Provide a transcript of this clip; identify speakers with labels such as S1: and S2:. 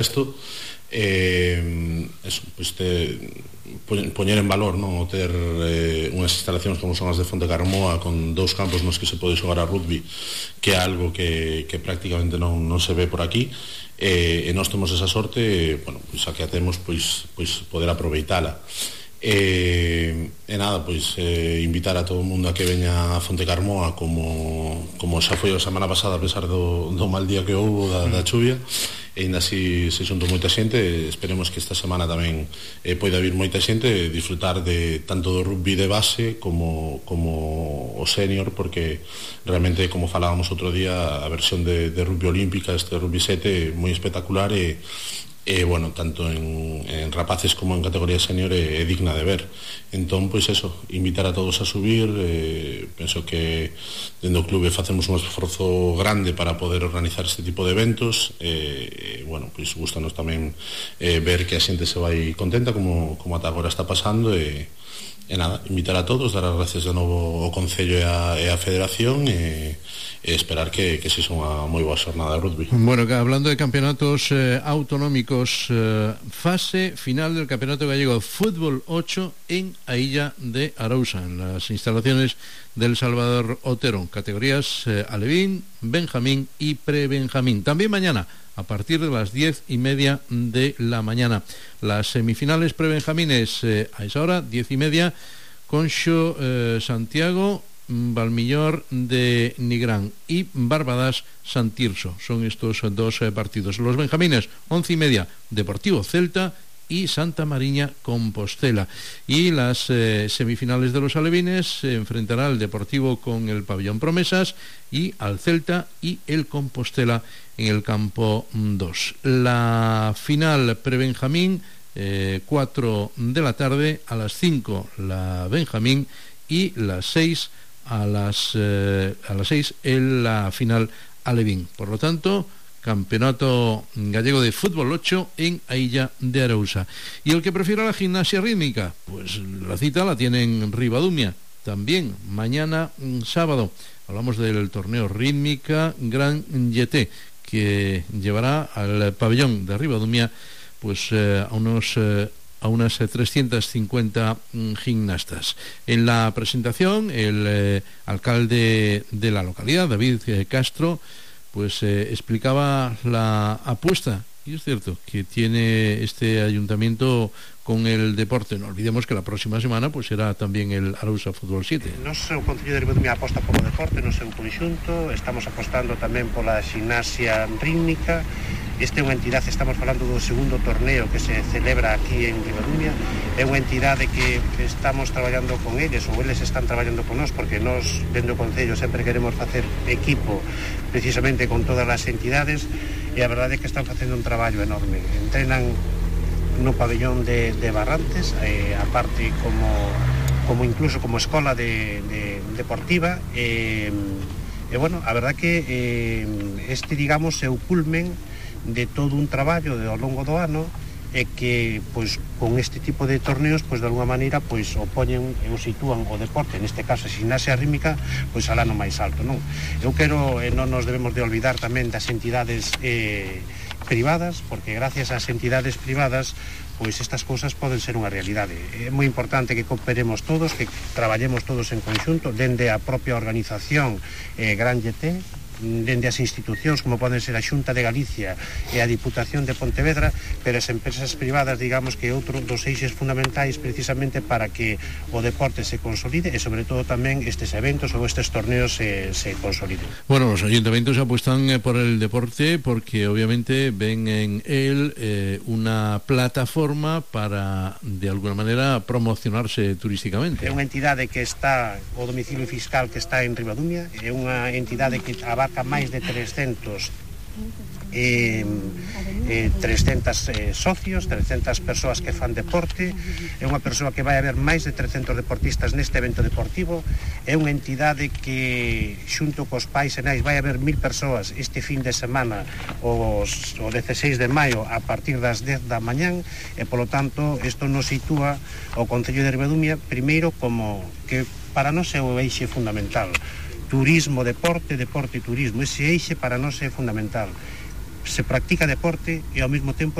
S1: isto, eso, pois poñer en valor, non, o ter unhas instalacións como son as de Fonte Carmoa con 2 campos nos que se pode xogar a rugby, que é algo que prácticamente non se ve por aquí, e nós temos esa sorte, bueno, pois a que a temos, pois poder aproveitala. E nada, pois invitar a todo o mundo a que veña a Fonte Carmoa como xa foi a semana pasada, a pesar do mal día que houve da chuvia, e ainda así se xuntou moita xente. Esperemos que esta semana tamén poida vir moita xente e disfrutar de tanto do rugby de base como o senior, porque realmente, como falábamos outro día, a versión de rugby olímpica, este rugby 7, moi espectacular e bueno, tanto en rapaces como en categoría senior é digna de ver. Entón, pois eso, invitar a todos a subir. Penso que dentro do clube facemos un esforzo grande para poder organizar este tipo de eventos. Bueno, pois gustanos tamén ver que a xente se vai contenta como ata agora está pasando, e nada, invitar a todos, dar as gracias de novo ao Concello e a Federación, e esperar que sexa unha moi boa xornada de rugby.
S2: Bueno, hablando de campeonatos autonómicos, fase final del Campeonato Gallego Fútbol 8 en a Illa de Arousa, en las instalaciones del Salvador Otero, categorías alevín, benjamín y prebenjamín. También mañana, a partir de las 10:30 de la mañana, las semifinales prebenjamines a esa hora, 10:30, Conxo Santiago, Valmillor de Nigrán y Barbadas Santirso. Son estos 2 partidos. Los benjamines, 11:30, Deportivo Celta y Santa Mariña Compostela. Y las semifinales de los alevines se enfrentará el Deportivo con el Pabellón Promesas y al Celta y el Compostela en el campo 2. La final prebenjamín, 4 de la tarde, a las 5 la benjamín y las 6 a las 6 en la final alevín. Por lo tanto, Campeonato Gallego de Fútbol 8 en a Illa de Arousa. Y el que prefiera la gimnasia rítmica, pues la cita la tiene en Ribadumia también mañana sábado. Hablamos del torneo rítmica Gran Yeté, que llevará al pabellón de Ribadumia pues a unas 350 gimnastas. En la presentación, el alcalde de la localidad, David Castro, pues explicaba la apuesta, y es cierto, que tiene este ayuntamiento con el deporte. No olvidemos que la próxima semana pues será tamén el Arousa Fútbol 7.
S3: Nos o Concello de Ribadumia aposta polo deporte no seu conxunto, estamos apostando tamén pola gimnasia rítmica. Este é unha entidade, estamos falando do segundo torneo que se celebra aquí en Ribadumia, é unha entidade que estamos traballando con eles, ou eles están traballando con nós, porque nós, dentro do Concello, sempre queremos facer equipo precisamente con todas as entidades, e a verdade é que están facendo un traballo enorme. Entrenan no pabellón de Barrantes, aparte como incluso como escola deportiva, e bueno, a verdade que este, digamos, é o culmen de todo un traballo ao longo do ano, e que, pois, con este tipo de torneos, pois, de alguma maneira, pois, o poñen e o sitúan o deporte, neste caso a gimnasia rítmica, pois, alá no máis alto, non? Eu quero, non nos debemos de olvidar tamén das entidades privadas, porque gracias ás entidades privadas, pois, estas cousas poden ser unha realidade. É moi importante que cooperemos todos, que traballemos todos en conxunto, dende a propia organización Gran Yeté, dende as institucións como poden ser a Xunta de Galicia e a Diputación de Pontevedra, pero as empresas privadas, digamos, que é outro dos eixes fundamentais precisamente para que o deporte se consolide, e sobre todo tamén estes eventos ou estes torneos se consoliden.
S2: Bueno, los ayuntamientos apuestan por el deporte porque obviamente ven en él una plataforma para, de alguna manera, promocionarse turísticamente.
S3: É unha entidade que está, o domicilio fiscal que está en Ribadumia, é unha entidade que abarca máis de 300 socios, 300 persoas que fan deporte. É unha persoa que vai haber máis de 300 deportistas neste evento deportivo. É unha entidade que, xunto cos pais e nais, vai haber 1000 persoas este fin de semana, o 16 de maio, a partir das 10 da mañán, e polo tanto isto nos sitúa o Concello de Ribadumia primeiro como que para nós é o eixe fundamental. Turismo, deporte, deporte e turismo, ese eixe para nós é fundamental. se practica deporte e ao mesmo tempo